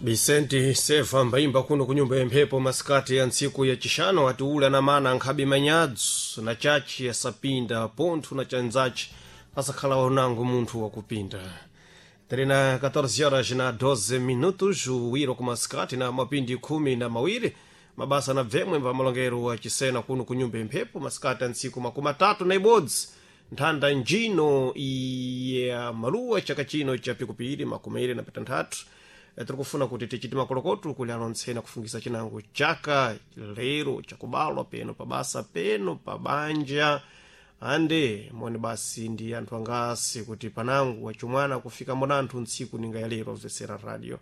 Vicente Seva mbaimba kuno kunyumba ya mphepo masikati ya ntsiku ya chixano atiula na mana nkhabe manyadzu na chachi asapinda pontho na chanzachi asakhala wanango munthu wakupinda. Terena 14 horas na 12 minutos, uwiro kumasikati na mapindi 12 mabasa na bvemwe mva malongero wa chisena kuno kunyumba ya mphepo masikati ya ntsiku 31 nthanda njino ya maluwa chaka chino cha pikupiri 26. Tiri kufuna kuti tichite makolokoto kuli alontsena kufungisa chinango chaka lero chakubalwa peno pabasa peno pabanja ande moni basi ndi anthu angasi kuti panangu wachumwana kufika mbona ntsiku ninga ya lero amvetsera radio.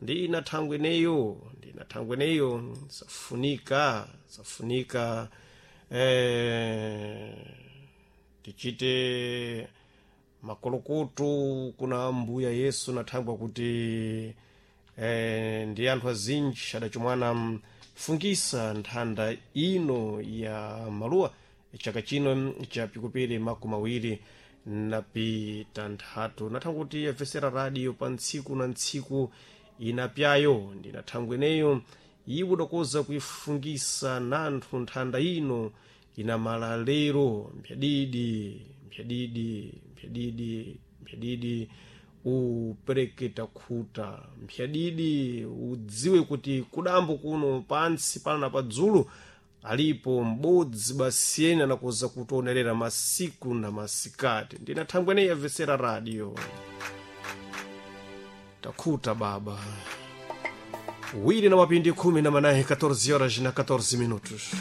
Ndina thangwe ineyo, ndina thangwe ineyo safunika safunika tichite makolokoto kuna mbuya Yesu nathangwa kuti ndi anthu azinji adachumwana mfungisa nthanda ino ya maluwa chaka chino cha pikupiri 26. Nathangwa kuti yamvesera radio pa ntsiku na ntsiku inapyayo, ndina thangwe ineyo iwo dakoza kuifungisa nanthu nthanda ino inamala lero mphyadidi mphyadidi mphyadidi mphyadidi upereke takhuta mphyadidi udziwe kuti kudambo kuno pansi pana na padzulu alipo m'bodzi basiyeni anakoza kutionerera masiku na masikati. Ndina thangwe ineyi yamvesera radio takhuta baba wiri na mapindi 14, 14 horas na 14 minutos.